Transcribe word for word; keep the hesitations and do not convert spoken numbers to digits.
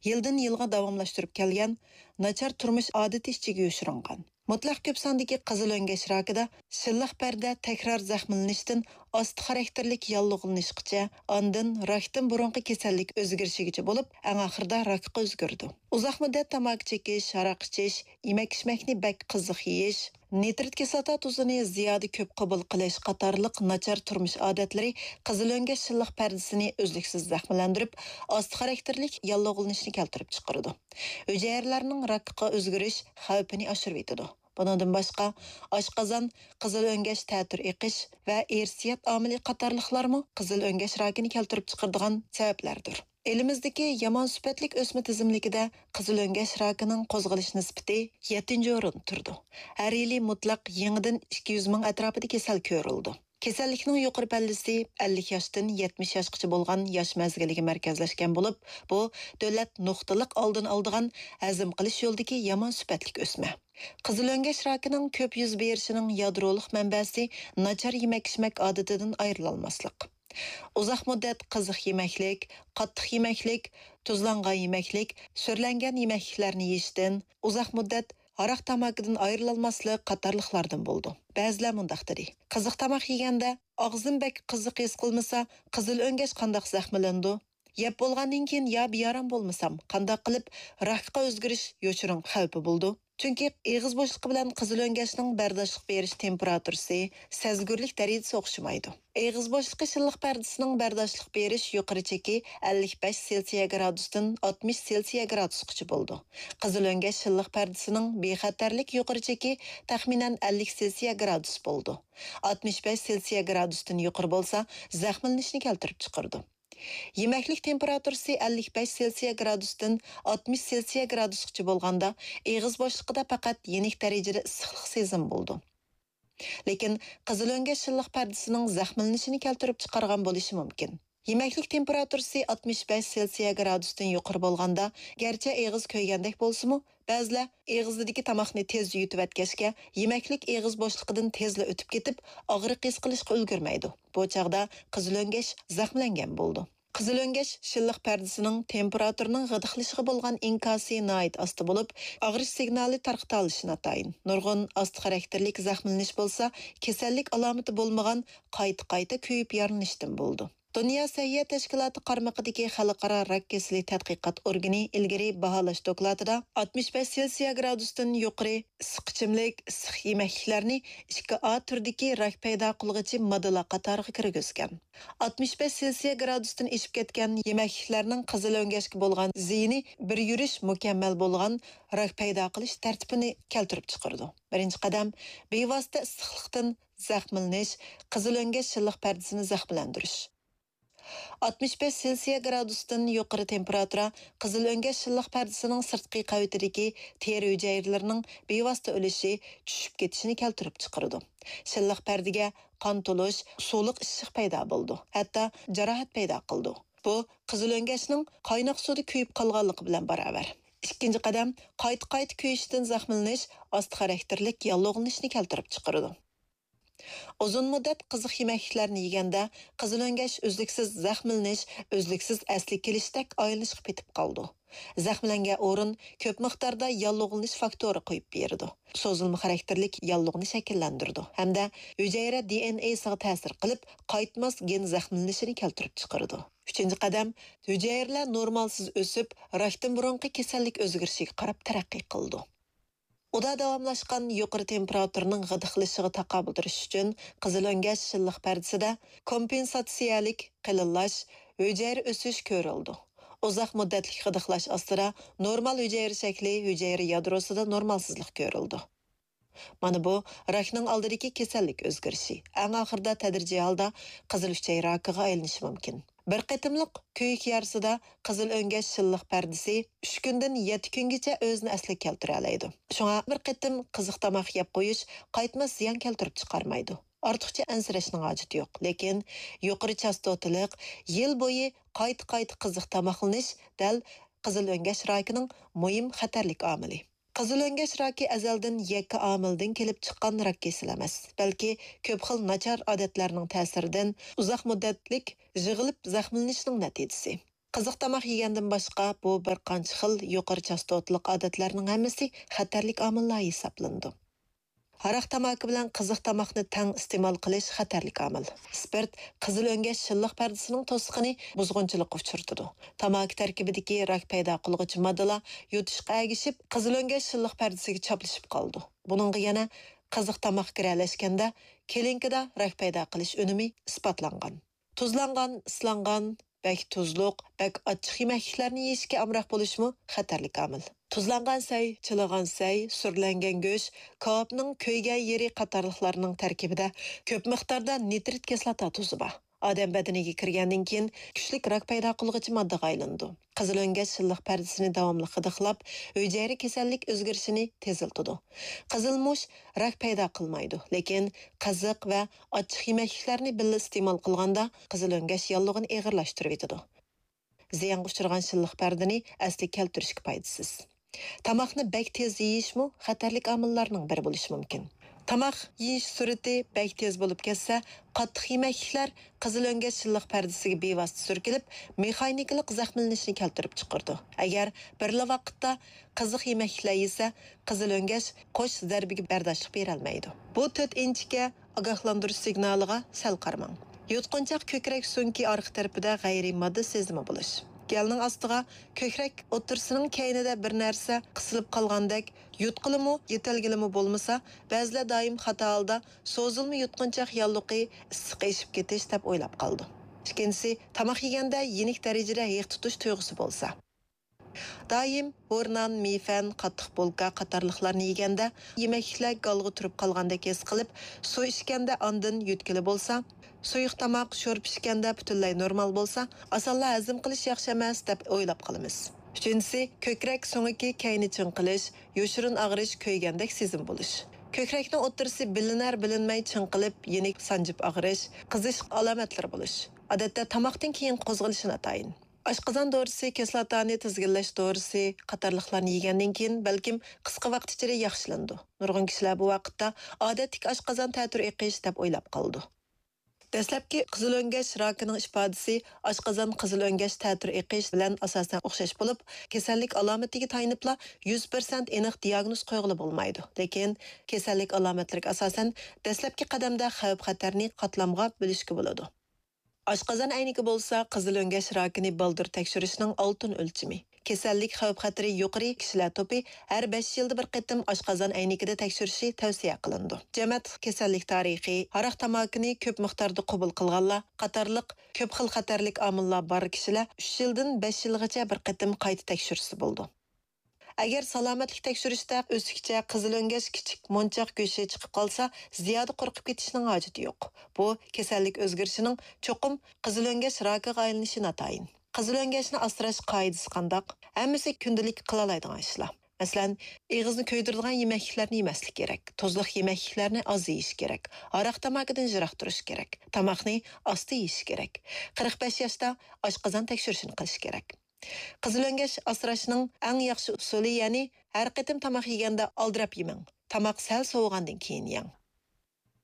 يىلدىن يىلغا داۋاملاشتۇرۇپ كەلگەن ناچار تۇرمۇش ئادىتى ئىچىگە يوشۇرۇنغان. مۇتلەق كۆپ ساندىكى قىزىل ئۆڭگەش راكىدا شىللىق پەردە تەكرار زەخىملىنىشتىن ئاستا خاراكتېرلىك ياللۇغلىنىشقىچە، ئاندىن راكتىن بۇرۇنقى كېسەللىك ئۆزگىرىشىگىچە بولۇپ، ئەڭ ئاخىرىدا راكقا ئۆزگىرىدۇ. ئۇزاق مۇددەت تاماكا چېكىش، ھاراق ئىچىش، يېمەك-ئىچمەكنى بەك قىزىق يېيىش، نىترىت كىسلاتا تۇزىنى زىيادە كۆپ قوبۇل قىلىش قاتارلىق ناچار تۇرمۇش ئادەتلىرى قىزىل ئۆڭگەش شىللىق پەردىسىنى ئۈزلۈكسىز زەخىملەندۈرۈپ، ئاستا خاراكتېرلىك ياللۇغلىنىشنى كەلتۈرۈپ چىقىرىدۇ. ھۈجەيرىلەرنىڭ راكقا ئۆزگىرىش خەۋپىنى ئاشۇرۇۋېتىدۇ. بۇنىڭدىن باشقا، ئاشقازان، قىزىل ئۆڭگەش تەتۈر ئېقىش ۋە ئىرسىيەت ئامىلى قاتارلىقلارمۇ قىزىل ئۆڭگەش راكىنى كەلتۈرۈپ چىقىرىدىغان سەۋەبلەردۇر. ئېلىمىزدىكى يامان سۈپەتلىك ئۆسمە تىزىملىكىدە قىزىل ئۆڭگەش راكىنىڭ قوزغىلىش نىسبىتى يەتتىنچى ئورۇندا تۇرىدۇ. ھەر يىلى مۇتلەق يېڭىدىن ئىككى يۈز مىڭ ئەتراپىدا كېسەل كۆرۈلىدۇ. كېسەللىكنىڭ يۇقىرى پەللىسى ئەللىك ياشتىن يەتمىش ياشقىچە بولغان ياش مەزگىلىگە مەركەزلەشكەن بولۇپ، بۇ دۆلەت نۇقتىلىق ئالدىنى ئالىدىغان ھەزىم قىلىش يولىدىكى يامان سۈپەتلىك ئۆسمە. قىزىل ئۆڭگەش راكىنىڭ كۆپ يۈز بېرىشىنىڭ يادرولۇق مەنبەسى ناچار يېمەك-ئىچمەك ئادىتىدىن ئايرىلالماسلىق. ئۇزاق مۇددەت قىزىق يېمەكلىك، قاتتىق يېمەكلىك، تۇزلانغان يېمەكلىك، سۈرلەنگەن يېمەكلىكلەرنى يېيىشتىن، ئۇزاق مۇددەت ھاراق تاماكىدىن ئايرىلالماسلىق قاتارلىقلاردىن بولىدۇ. بەزىلەر مۇنداق دېدى: «قىزىق تاماق يېگەندە ئاغزىم بەك قىزىق ھېس قىلمىسا، قىزىل ئۆڭگەش قانداق زەخىملىنىدۇ؟ يەپ بولغاندىن كېيىن يا بىئارام بولمىسام، قانداق قىلىپ راكقا ئۆزگىرىش يوشۇرۇن خەۋپى بولىدۇ؟» چۈنكى ئېغىز بوشلۇقى بىلەن قىزىل ئۆڭگەشنىڭ بەرداشلىق بېرىش تېمپېراتۇرىسى، سەزگۈرلۈك دەرىجىسى ئوخشىمايدۇ. ئېغىز بوشلۇقى شىللىق پەردىسىنىڭ بەرداشلىق بېرىش يۇقىرى چېكى ئەللىك بەش سېلسىيە گرادۇستىن ئاتمىش سېلسىيە گرادۇسقىچە بولىدۇ. قىزىل ئۆڭگەش شىللىق پەردىسىنىڭ بىخەتەرلىك يۇقىرى چېكى تەخمىنەن ئەللىك سېلسىيە گرادۇس بولىدۇ. ئاتمىش بەش سېلسىيە گرادۇستىن يۇقىرى بولسا، زەخىملىنىشنى كەلتۈرۈپ چىقىرىدۇ. يېمەكلىك تېمپېراتۇرىسى ئەللىك بەش سېلسىيە گرادۇستىن ئاتمىش سېلسىيە گرادۇسقىچە بولغاندا، ئېغىز بوشلۇقىدا پەقەت يېنىك دەرىجىدە ئىسسىقلىق سېزىمى بولىدۇ. لېكىن قىزىل ئۆڭگەش شىللىق پەردىسىنىڭ زەخىملىنىشىنى كەلتۈرۈپ چىقارغان بولۇشى مۇمكىن. يېمەكلىك تېمپېراتۇرىسى ئاتمىش بەش سېلسىيە گرادۇستىن يۇقىرى بولغاندا، گەرچە ئېغىز كۆيگەندەك بولسىمۇ، بەزىلەر ئېغىزىدىكى تاماقنى تېز يۇتۇۋەتكەچكە، يېمەكلىك ئېغىز بوشلۇقىدىن تېزلا ئۆتۈپ كېتىپ، ئاغرىق ھېس قىلىشقا ئۈلگۈرمەيدۇ. بۇ چاغدا قىزىل ئۆڭگەش زەخىملەنگەن بولىدۇ. قىزىل ئۆڭگەش شىللىق پەردىسىنىڭ تېمپېراتۇرىنىڭ غىدىقلىشىغا بولغان ئىنكاسى ناھايىتى ئاستا بولۇپ، ئاغرىش سىگنالى تارقىتالىشى ناتايىن. نۇرغۇن ئاستا خاراكتېرلىك زەخىملىنىش بولسا، كېسەللىك ئالامىتى بولمىغان، قايتا-قايتا كۆيۈپ يارىلىنىشتىن بولىدۇ. دۇنيا سەھىيە تەشكىلاتى قارمىقىدىكى خەلقئارا راك كېسىلى تەتقىقات ئورگىنى ئىلگىرى باھالاش دوكلاتىدا، ئاتمىش بەش سېلسىيە گرادۇستىن يۇقىرى ئىسسىق ئىچىملىك، ئىسسىق يېمەكلىكلەرنى ئىككى ئا تۈردىكى راك پەيدا قىلغۇچى ماددىلار قاتارىغا كىرگۈزگەن. ئاتمىش بەش سېلسىيە گرادۇستىن ئېشىپ كەتكەن يېمەكلىكلەرنىڭ قىزىل ئۆڭگەشكە بولغان زىيىنى بىر يۈرۈش مۇكەممەل بولغان راك پەيدا قىلىش تەرتىپىنى كەلتۈرۈپ چىقىرىدۇ. بىرىنچى قەدەم، بىۋاسىتە ئىسسىقلىقتىن زەخىملىنىش، قىزىل ئۆڭگەش شىللىق پەردىسىنى زەخىملەندۈرۈش. ئاتمىش بەش سېلسىيە گرادۇستىن يۇقىرى تېمپېراتۇرا قىزىل ئۆڭگەش شىللىق پەردىسىنىڭ سىرتقى قەۋىتىدىكى تېرە ھۈجەيرىلىرىنىڭ بىۋاسىتە ئۆلۈشى، چۈشۈپ كېتىشىنى كەلتۈرۈپ چىقىرىدۇ. شىللىق پەردىگە قان تولۇش، سۇلۇق ئىششىق پەيدا بولىدۇ، ھەتتا جاراھەت پەيدا قىلىدۇ. بۇ قىزىل ئۆڭگەشنىڭ قايناق سۇدا كۆيۈپ قالغانلىقى بىلەن باراۋەر. ئىككىنچى قەدەم، قايتا-قايتا كۆيۈشتىن زەخىملىنىش ئاستا خاراكتېرلىك ياللۇغلىنىشنى كەلتۈرۈپ چىقىرىدۇ. ئۇزۇن مۇددەت قىزىق يېمەكلىكلەرنى يېگەندە، قىزىل ئۆڭگەش ئۈزلۈكسىز زەخىملىنىش، ئۈزلۈكسىز ئەسلىگە كېلىشتەك ئايلىنىشقا پېتىپ قالىدۇ. زەخىملەنگەن ئورۇن كۆپ مىقداردا ياللۇغلىنىش فاكتورى قويۇپ بېرىدۇ. سوزۇلما خاراكتېرلىك ياللۇغنى شەكىللەندۈرىدۇ ھەمدە ھۈجەيرە دى ئېن ئېسىغا تەسىر قىلىپ، قايتماس گېن زەخىملىنىشىنى كەلتۈرۈپ چىقىرىدۇ. ئۈچىنچى قەدەم، ھۈجەيرىلەر نورمالسىز ئۆسۈپ، راكتىن بۇرۇنقى كېسەللىك ئۆزگىرىشىگە قاراپ تەرەققىي قىلىدۇ. ئۇدا داۋاملاشقان يۇقىرى تېمپېراتۇرىنىڭ غىدىقلىشىشىغا تاقابىل تۇرۇش ئۈچۈن، قىزىل ئۆڭگەش شىللىق پەردىسىدە كومپېنساتسىيەلىك قېلىنلاش، ھۈجەيرە ئۆسۈش كۆرۈلىدۇ. ئۇزاق مۇددەتلىك غىدىقلاش ئاستىدا نورمال ھۈجەيرە شەكلى، ھۈجەيرە يادروسىدا نورمالسىزلىق كۆرۈلىدۇ. مانا بۇ راكنىڭ ئالدىدىكى كېسەللىك ئۆزگىرىشى، ئەڭ ئاخىرىدا تەدرىجىي ھالدا قىزىل ئۈچەي راكىغا ئايلىنىشى مۇمكىن. بىر قېتىملىق كۆيۈك يارىسىدا قىزىل ئۆڭگەش شىللىق پەردىسى ئۈچ كۈندىن يەتتە كۈنگىچە ئۆزىنى ئەسلىگە كەلتۈرەلەيدۇ. شۇڭا بىر قېتىم قىزىق تاماق يەپ قويۇش قايتماس زىيان كەلتۈرۈپ چىقارمايدۇ. ئارتۇقچە ئەنسىرەشنىڭ ھاجىتى يوق. لېكىن يۇقىرى چاستوتىلىق، يىل بويى قايتا-قايتا قىزىق تاماقلىنىش دەل قىزىل ئۆڭگەش راكىنىڭ مۇھىم خەتەرلىك ئامىلى. قىزىل ئۆڭگەش راكى ئەزەلدىن يەككە ئامىلدىن كېلىپ چىققان راك كېسىلى ئەمەس، بەلكى كۆپ خىل ناچار ئادەتلەرنىڭ تەسىرىدىن، ئۇزاق مۇددەتلىك يىغىلىپ زەخىملىنىشنىڭ نەتىجىسى. قىزىق تاماق يېگەندىن باشقا، بۇ بىر قانچە خىل يۇقىرى چاستوتىلىق ئادەتلەرنىڭ ھەممىسى خەتەرلىك ئامىللار ھېسابلىنىدۇ. ھاراق تاماكا بىلەن قىزىق تاماقنى تەڭ ئىستېمال قىلىش خەتەرلىك ئامىل. ئىسپىرت قىزىل ئۆڭگەش شىللىق پەردىسىنىڭ توسۇقىنى بۇزغۇنچىلىققا ئۇچرىتىدۇ. تاماكا تەركىبىدىكى راك پەيدا قىلغۇچى ماددىلار يۇتۇشقا ئەگىشىپ، قىزىل ئۆڭگەش شىللىق پەردىسىگە چاپلىشىپ قالىدۇ. بۇنىڭغا يەنە قىزىق تاماق گىرەلەشكەندە، كېلىنكىدا راك پەيدا قىلىش ئۈنۈمى ئىسپاتلانغان. تۇزلانغان، ئىسلانغان، بەك تۇزلۇق، بەك ئاچچىق يېمەكلىكلەرنى يېيىشكە ئامراق بولۇشمۇ خەتەرلىك ئامىل. تۇزلانغان سەي، چىلىغان سەي، سۈرلەنگەن گۆش، كاۋاپنىڭ كۆيگەن يېرى قاتارلىقلارنىڭ تەركىبىدە كۆپ مىقداردا نىترىت كىسلاتا تۇزى بار. ئادەم بەدىنىگە كىرگەندىن كېيىن، كۈچلۈك راك پەيدا قىلغۇچى ماددىغا ئايلىنىدۇ. قىزىل ئۆڭگەش شىللىق پەردىسىنى داۋاملىق غىدىقلاپ، ھۈجەيرە كېسەللىك ئۆزگىرىشىنى تېزلىتىدۇ. قىزىل مۇش راك پەيدا قىلمايدۇ، لېكىن قىزىق ۋە ئاچچىق يېمەكلىكلەرنى بىللە ئىستېمال قىلغاندا، قىزىل ئۆڭگەش ياللۇغىنى ئېغىرلاشتۇرۇۋېتىدۇ. زىيانغا ئۇچرىغان شىللىق پەردىنى ئەسلىگە كەلتۈرۈشكە پايدىسىز. تاماقنى بەك تېز يېيىشمۇ خەتەرلىك ئامىللارنىڭ بىرى بولۇشى مۇمكىن. تاماق يېيىش سۈرئىتى بەك تېز بولۇپ كەتسە، قاتتىق يېمەكلىكلەر قىزىل ئۆڭگەش شىللىق پەردىسىگە بىۋاسىتە سۈركىلىپ، مېخانىكىلىق زەخىملىنىشنى كەلتۈرۈپ چىقىرىدۇ. ئەگەر بىرلا ۋاقىتتا قىزىق يېمەكلىكلەر يېسە، قىزىل ئۆڭگەش قوش زەربىگە بەرداشلىق بېرەلمەيدۇ. بۇ تۆت ئىنچىكە ئاگاھلاندۇرۇش سىگنالىغا سەل قارىماڭ. يۇتقۇنچاق كۆكرەك سۆڭىكى ئارقا تەرىپىدە غەيرىي ماددا سېزىمى بولۇش. گەلنىڭ ئاستىغا، كۆكرەك ئوتتۇرىسىنىڭ كەينىدە بىر نەرسە قىسىلىپ قالغاندەك، يۇتقىلىمۇ، يۆتەلگىلىمۇ بولمىسا، بەزىلەر دائىم خاتا ھالدا سوزۇلما يۇتقۇنچاق ياللۇغى ئىسسىق ئېشىپ كېتىش دەپ ئويلاپ قالىدۇ. ئىككىنچىسى، تاماق يېگەندە يېنىك دەرىجىدە ھېق تۇتۇش تۇيغۇسى بولسا. دائىم ھورنان، مىفەن، قاتتىق بولكا قاتارلىقلارنى يېگەندە، يېمەكلىكلەر گالغا تۇرۇپ قالغاندەك ھېس قىلىپ، سۇ ئىچكەندە ئاندىن يۆتكىلى بولسا، سۇيۇق تاماق، شورپا ئىچكەندە پۈتۈنلەي نورمال بولسا، ئاسانلا ھەزىم قىلىش ياخشى ئەمەس دەپ ئويلاپ قالىمىز. ئۈچىنچىسى، كۆكرەك سۆڭىكى كەينى چىڭقىلىش، يوشۇرۇن ئاغرىش، كۆيگەندەك سېزىم بولۇش. كۆكرەكنىڭ ئوتتۇرىسى بىلىنەر بىلىنمەي چىڭقىلىپ، يېنىك سانجىپ ئاغرىش، قىزىش ئالامەتلىرى بولۇش. ئادەتتە تاماقتىن كېيىن قوزغىلىشى ناتايىن. ئاشقازان دورىسى، كىسلاتانى تىزگىنلەش دورىسى قاتارلىقلارنى يېگەندىن كېيىن، بەلكىم قىسقا ۋاقىت ئىچىدە ياخشىلىنىدۇ. نۇرغۇن كىشىلەر بۇ ۋاقىتتا ئادەتتىكى ئاشقازان تەتۈر ئېقىش دەپ ئويلاپ قالىدۇ. دەسلەپكى قىزىل ئۆڭگەش راكىنىڭ ئىپادىسى ئاشقازان قىزىل ئۆڭگەش تەتۈر ئېقىش بىلەن ئاساسەن ئوخشاش بولۇپ، كېسەللىك ئالامىتىگە تايىنىپلا يۈز پىرسەنت ئېنىق دىياگنوز قويغىلى بولمايدۇ. لېكىن كېسەللىك ئالامەتلىرىگە ئاساسەن دەسلەپكى قەدەمدە خەۋپ-خەتەرنى قاتلامغا بۆلۈشكە بولىدۇ. ئاشقازان ئەينىكى بولسا قىزىل ئۆڭگەش راكىنى بالدۇر تەكشۈرۈشنىڭ ئالتۇن ئۆلچىمى. كېسەللىك خەۋپ-خەتىرى يۇقىرى كىشىلەر توپى ھەر بەش يىلدا بىر قېتىم ئاشقازان ئەينىكىدە تەكشۈرۈشى تەۋسىيە قىلىنىدۇ. جەمەت كېسەللىك تارىخى، ھاراق تاماكىنى كۆپ مىقداردا قوبۇل قىلغانلار قاتارلىق كۆپ خىل خەتەرلىك ئامىللار بار كىشىلەر ئۈچ يىلدىن بەش يىلغىچە بىر قېتىم قايتا تەكشۈرسە بولىدۇ. ئەگەر سالامەتلىك تەكشۈرۈشتە ئۆسۈكچە قىزىل ئۆڭگەش كىچىك مونچاق گۆشى چىقىپ قالسا، زىيادە قورقۇپ كېتىشنىڭ ھاجىتى يوق. بۇ كېسەللىك ئۆزگىرىشىنىڭ چوقۇم قىزىل ئۆڭگەش راكىغا ئايلىنىشى ناتايىن. قىزىل ئۆڭگەشنى ئاسراش قائىدىسى قانداق؟ ھەممىسى كۈندىلىك قىلالايدىغان ئىشلار. مەسىلەن، ئېغىزنى كۆيدۈرىدىغان يېمەكلىكلەرنى يېمەسلىك كېرەك، تۇزلۇق يېمەكلىكلەرنى ئاز يېيىش كېرەك، ھاراق تاماكىدىن يىراق تۇرۇش كېرەك، تاماقنى ئاستا يېيىش كېرەك. قىرىق بەش ياشتا ئاشقازان تەكشۈرۈشىنى قىلىش كېرەك. قىزىل ئۆڭگەش ئاسراشنىڭ ئەڭ ياخشى ئۇسۇلى، يەنى ھەر قېتىم تاماق يېگەندە ئالدىراپ يېمەڭ. تاماق سەل سوۋۇغاندىن كېيىن يەڭ.